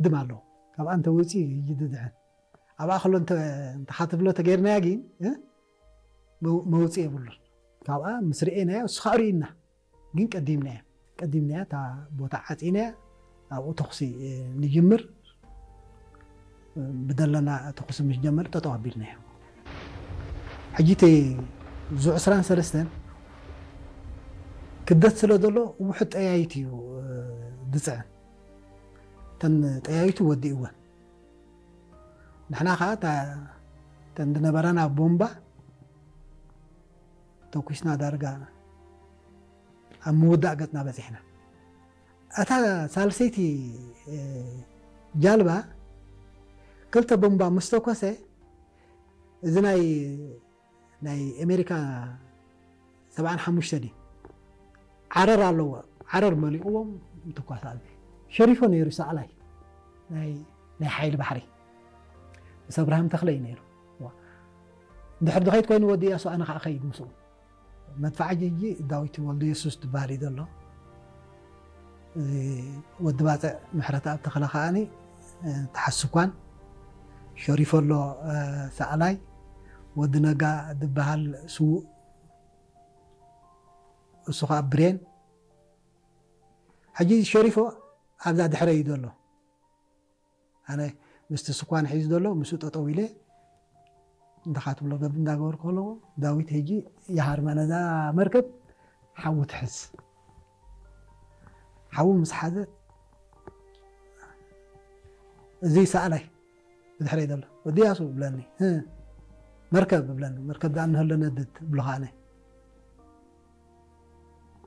ድም ኣለዎ። ካብኣ እንተወፂኡ እዩ ድድሕን። ኣብኣ ከሎ እንተ እንተ ካትብሎ ተገይርናያ ግን እ? መው- መውፅኢ የብሉን። ካብኣ ምስ ርኤናዮ እሱ ከዓ ርኢና። ግን ቀዲምናያ ቀዲምናያ እታ ቦታ ዓፂናያ። ኣብኡ ተኹሲ እ፣ ንጅምር። ብደለና ተኹሲ ምስ ጀመር ጠጠው ኣቢልናዮ። ሕጂ እቲ ዙ ዕስራን ሰለስተን ክደት ስለ ዘሎ ውሑድ ጠያይት እዩ እ፣ ዝፅዕን። እተን ጠያይቱ ወዲእወን። ንሕና ከዓ እታ- እተን ዝነበራና ቦምባ ተኩስና ዳርጋ ኣብ ምውዳእ ገፅና በፂሕና። እታ ሳልሰይቲ እ፣ ጃልባ ክልተ ቦምባ ምስ ተኮሰ እዚ ናይ ናይ ኣሜሪካ ሰብዓን ሓሙሽተ ድዩ ዓረር ኣለዎ። ዓረር መሊእዎም ምትኳስ ኣልቢ ሸሪፎ ነይሩ ሳዕላይ ናይ ናይ ሓይሊ ባሕሪ ምስ ኣብርሃም ተኽለ እዩ ነይሩ። ዋ። እንድሕር ድኸይድ ኮይኑ ወዲ እያሱ ኣነ ከዓ ኸይድ ምስኡ። መድፋዕ ጅጂ ዳዊት ወልደ የሱስ ትበሃል እዩ ዘሎ። እዚ ወዲ ባፅዕ ምሕረት ኣብ ተኽለ ከዓኒ እ፣ ተሓስኳን ሸሪፎ ኣሎ እ፣ ሳዕላይ ወዲ ነጋ ዝበሃል ስዉእ እሱ ከዓ ብሬን። ሕጂ ሸሪፎ ኣብዛ ድሕረ እዩ ዘሎ። ኣነ ምስቲ ስኳን ሒዙ ዘሎ ምስኡ ጠጠው ኢለ እንተኻትብሎ ገብ እንዳገበርኩ ከለዎ ዳዊት ሕጂ ይሃርማ ነዛ መርከብ ሓዊ ትሕዝ። ሓዊ ምስ ሓዘት እዚ ሰኣላይ ብድሕረይ ዘሎ ወዲ ያሱ ብለኒ። እ፣ መርከብ ብለኒ። መርከብ ደኣ እንህሎ ነድድ ብሎ ከዓነ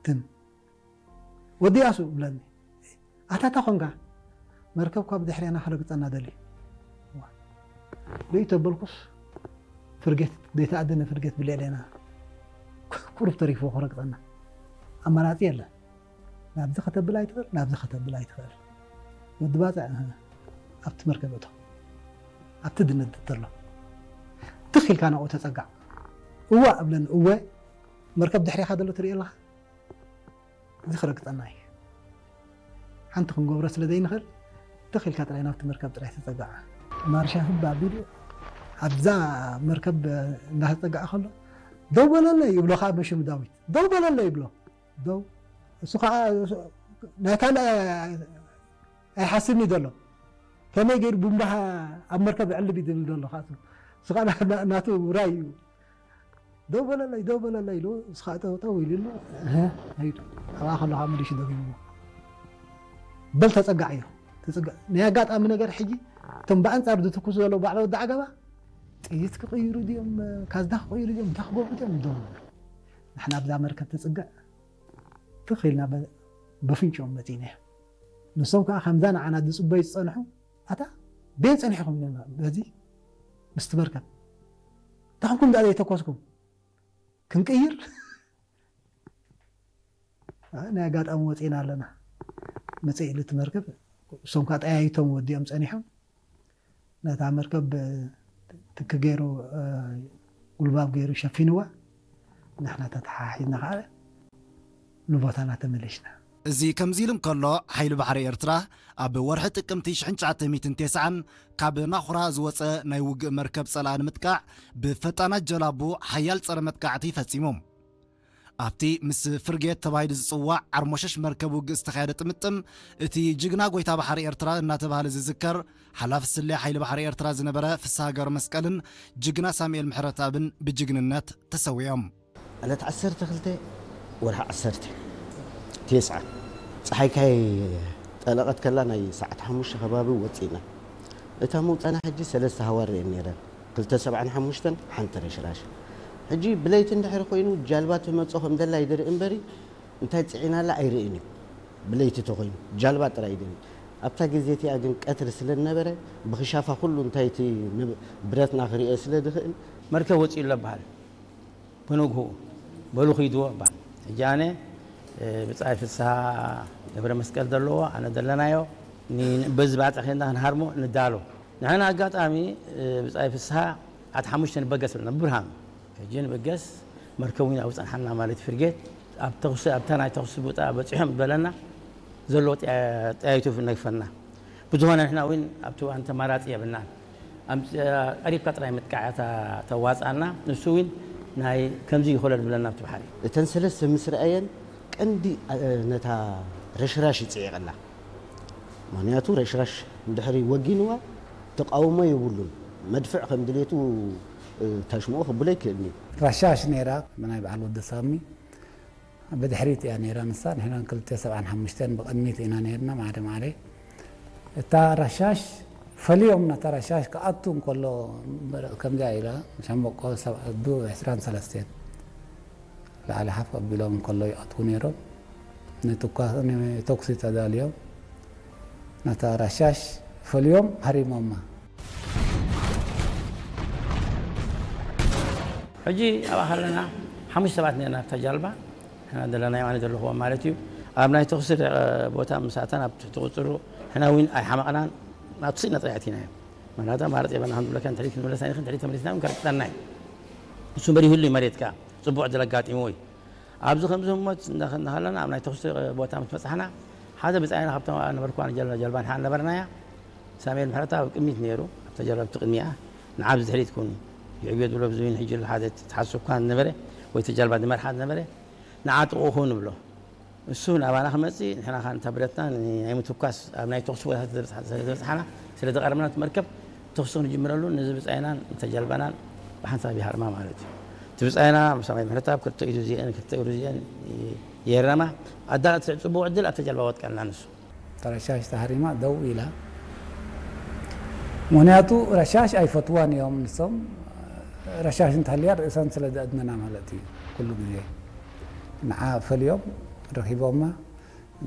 ትም ወዲ ያሱ ብለኒ። ኣታ እንታይ ኮንካ? መርከብ ካብ ድሕሬና ክረግጸና ደልዩ። ዋ። ርእዩ ተበልኩስ ፍርጌት ዘይተኣደነ ፍርጌት ብልዕሌና ቁሩብ ተሪፍዎ ክረግጸና። ኣማራጺ የለን። ናብዚ ከተብል ኣይትኽእል፣ ናብዚ ከተብል ኣይትኽእል። ወዲ ባጽዕ እህ፣ ኣብቲ መርከብ እቶ ኣብቲ ድነድድ ዘሎ ትኽ ኢልካ ናብኡ ተጸጋዕ። እዋ እብለኒ፣ እወ መርከብ ድሕሬኻ ዘሎ ትርኢ ኣለኻ። እዚ ክረግጸና እዩ። ሓንቲ ክንገብሮ ስለ ዘይንኽእል ትኽ ኢልካ ጥራይ ናብቲ መርከብ ጥራይ ተጸጋዕ። ማርሻ ህብ ኣቢሉ ኣብዛ መርከብ እንዳተጸጋዐ ከሎ ደው በለለይ ይብሎ ከዓ በሽም ዳዊት ደው በለለይ ይብሎ። ደው እሱ ከዓ ናይ ካልእ ኣይሓስብን እዩ ዘሎ። ከመይ ገይሩ ቡምባኻ ኣብ መርከብ ዕልብ እዩ ዝብል ዘሎ ከዓ እሱ። እሱ ከዓ ና- ና- ናቱ ውራይ እዩ። ደው በለለይ ደው በለለይ ኢሉ እሱ ከዓ ጠው ጠው ኢሉ ኣሎ። እህ፣ ሄዱ። ኣብኣ ከሎ ከዓ መሊሱ ደጊምዎ በል ተፀጋዕ እዩ። ተፀጋ- ናይ ኣጋጣሚ ነገር ሕጂ እቶም ብኣንፃር ዝትኩሱ ዘለዉ ባዕለ ወዲ ዓገባ ጥይት ክቕይሩ ድዮም፣ ካዝና ክቕይሩ ድዮም፣ እንታይ ክገብሩ ድዮም ደው ንሕና ኣብዛ መርከብ ተፅግዕ ትኽ ኢልና በ- በፍንጭኦም መፂእና እዮም። ንሶም ከዓ ከምዛ ንዓና ዝፅበዩ ዝፀንሑ ኣታ ቤን ፀኒሕኹም ኢሎም በዚ ምስቲ መርከብ እንታይ ኮንኩም ደኣ ዘይተኮስኩም ክንቅይር ናይ ኣጋጣሚ ወፂና ኣለና። መፅእ ኢሉ እቲ መርከብ እሶም ከዓ ጠያይቶም ወዲኦም ፀኒሖም ነታ መርከብ ትኪ ገይሩ ጉልባብ ገይሩ ሸፊንዋ። ንሕና ተተሓሒዝና ከዓ ንቦታና ተመለሽና። እዚ ከምዚ ኢሉ እንከሎ ሓይሊ ባሕሪ ኤርትራ ኣብ ወርሒ ጥቅምቲ ሽሕን ትሽዓተ ሚእትን ተስዓን ካብ ናኹራ ዝወፀ ናይ ውግእ መርከብ ፀላኢ ንምጥቃዕ ብፈጣናት ጀላቡ ሓያል ፀረ መጥቃዕቲ ፈፂሙ። ኣብቲ ምስ ፍርጌት ተባሂሉ ዝፅዋዕ ዓርሞሸሽ መርከብ ውግእ ዝተኻየደ ጥምጥም እቲ ጅግና ጎይታ ባሕሪ ኤርትራ እናተባህለ ዝዝከር ሓላፊ ስለ ሓይሊ ባሕሪ ኤርትራ ዝነበረ ፍስሃ ገብረመስቀልን ጅግና ሳሙኤል ምሕረትኣብን ብጅግንነት ተሰዊኦም። ዕለት ዓሰርተ ክልተ ወርሒ ዓሰርተ ተስዓ ፀሓይ ካይ ጠለቐት ከላ ናይ ሰዓት ሓሙሽተ ከባቢ ወፂእና። እታ መውፃና ሕጂ ሰለስተ ሃዋር እየን ነይረን። ክልተ ሰብዓን ሓሙሽተን ሓንቲ ረሽራሽ። ሕጂ ብለይቲ እንድሕር ኮይኑ ጃልባ ትመፆ ከም ዘላ ይድርኢ እምበሪ እንታይ ፅዒናላ ኣይርእን እዩ። ብለይቲ ተኮይኑ ጃልባ ጥራይ ይድርኢ። ኣብታ ግዜ እቲኣ ግን ቀትሪ ስለ ዝነበረ ብክሻፋ ኩሉ እንታይ እቲ ንብ- ብረትና ክርእዮ ስለ ዝኽእል መርከብ ወፂኡ ኣሎ በሃል። ብንግሁ በሉ ኺድዎ እባል። ሕጂ ኣነ ብጻይ ፍስሃ ገብረ መስቀል ዘለዎ ኣነ ዘለናዮ በዚ ባጽዕ ኬንዳ ክንሃርሞ ንዳሎ። ንሕና ኣጋጣሚ ብጻይ ፍስሃ ዓት ሓሙሽተ ንበገስ ብለና ብብርሃኑ። ሕጂ ንበገስ መርከቡ ኢና ኣብኡ ጸንሓና ማለት ፍርጌት ኣብ ተኹሲ ኣብታ ናይ ተኹሲ ቦታ በጺሖም በለና። ዘለዎ ጠያይቱ ነግፈና። ብዝኾነ ንሕና እውን ኣብቲ እዋን ተማራፂ የብልናን። ኣምፅ-፣ ቀሪብካ ጥራይ ምጥቃዕ እያ ተ-፣ ተዋፅኣና። ንሱ እውን ናይ ከምዚ ይኾለል ዝብለና ኣብቲ ባሕሪ። እተን ሰለስተ ምስ ረኣየን ቀንዲ፣ እ፣ ነታ ረሽራሽ ይፅዒቐላ። ምኽንያቱ ረሽራሽ እንድሕሪ ወጊንዋ ተቃውሞ የብሉን። መድፍዕ ከም ድሌቱ፣ እ፣ ታሽምኦ ክብሎ ይክእልኒ። ረሻሽ ነይራ፣ ብናይ በዓል ወዲ ሳሚ ብድሕሪት እያ ነይራ ንሳ። ንሕና ክልተ ሰብዓን ሓሙሽተን ብቕድሚት ኢና ነይርና፣ ማዕረ ማዕረ። እታ ረሻሽ ፈልዮም፣ ነታ ረሻሽ ክኣቱ እንከሎ፣ ከምዚኣ ኢላ፣ ሻምበቆ ሰብ ኣዱ ዕስራን ሰለስተን ላዕሊ ሓፍ ኣቢሎም እንከሎ ይኣትዉ ነይሮም። ንትኳ-፣ ንተኩሲ ተዳልዮም፣ ነታ ረሻሽ ፈልዮም ሃሪሞማ። ሕጂ ኣብኣ ከለና ሓሙሽተ ሰባት ነርና ኣብታ ጃልባ፣ ንሕና ዘለና የማነ ዘለኹዎ ማለት እዩ። ኣብ ናይ ተኹሲ ቦታ ምስ ኣተና፣ ኣብ ትሕቲ ቁፅሩ ንሕና እውን ኣይሓመቕናን፣ ናብ ስኢና ጥራይ ኣቲናዮ። ምኽንያቱ ኣማራፂ የብልና፣ ከም ዝብለካ፣ ንድሕሪት ክንምለስ ኣይንኽእል፣ ንድሕሪት ተመሊስና እውን ከርቅጠና እዩ። እሱ እምበር ይህሉ እዩ መሬትካ፣ ፅቡቕ ዕድል ኣጋጢምዎ እዩ። ኣብዚ ከምዚ ህሞት እንዳ-፣ እንዳኸለና ኣብ ናይ ተኹሲ ቦታ ምስ በፃሕና፣ ሓደ ብፃይና ካብቶም ነበርኩዋ ጀልባ፣ ጀልባ ንሓ ነበርናያ፣ ሳሙኤል ምሕረተኣብ ኣብ ቅድሚት ነይሩ፣ ኣብታ ጀልባ ብቲ ቅድሚኣ፣ ንዓ ብድሕሪት ኩን፣ ይዕብዮ ዝብሎ ብዙይን ሕጂ ኣሎ ሓደ ተሓሱ እኳ ነበረ፣ ወይ እቲ ጀልባ ዝመርሓ ነበረ፣ ንዓ ጥቕኡ ኩን ንብሎ። እሱ ናባና ክመፅእ፣ ንሕና ኻን እታ ብረትና ናይ ምትኳስ፣ ኣብ ናይ ተኹሲ ቦታታት ዝበፅሓ-፣ ስለ ዝበፅሓና፣ ስለ ዝቐረብና እቲ መርከብ፣ ተኹሲ ክንጅምረሉ፣ ነዚ ብፃይናን እታ ጀልባናን ብሓንሳብ ይሃርማ ማለት እዩ። እቲ ብፃይና፣ ሳሙኤል ምሕረተኣብ ክልተ ኢዱ እዚአን፣ ክልተ እግሩ እዚአን ይረማ። ኣዳል እቲ ፅቡቕ ዕድል ኣብታ ጀልባ ወጥቀልና ንሱ። እታ ረሻሽ ተሃሪማ ደው ኢላ። ምኽንያቱ ረሻሽ ኣይፈትዋን እዮም ንሶም። ረሻሽ እንተሃልያ ርእሰን ስለ ዘእድነና ማለት እዩ። ኩሉ ግዜ ንዓ ፈልዮም ረኺቦማ።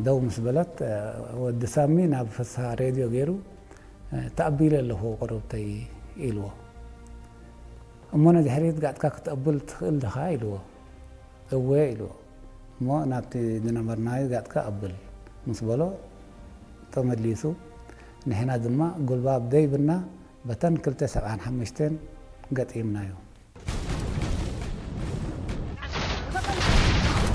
ደው ምስ በለት፣ ወዲ ሳሚ ናብ ፍስሃ ሬድዮ ገይሩ፣ "ተኣቢለ ኣለኹ ቁሩብተይ" ኢልዎ። "እሞ ነድሕሪት ጋጥካ ክትኣብል ትኽእል ዲኻ?" ኢልዎ። "እወ" ኢልዎ። "እሞ ናብቲ ዝነበርናዮ ጋጥካ ኣብል" ምስ በሎ ተመሊሱ፣ ንሕና ድማ ጉልባብ ደይብና በተን ክልተ ሰብዓን ሓሙሽተን ገጢምናዮ።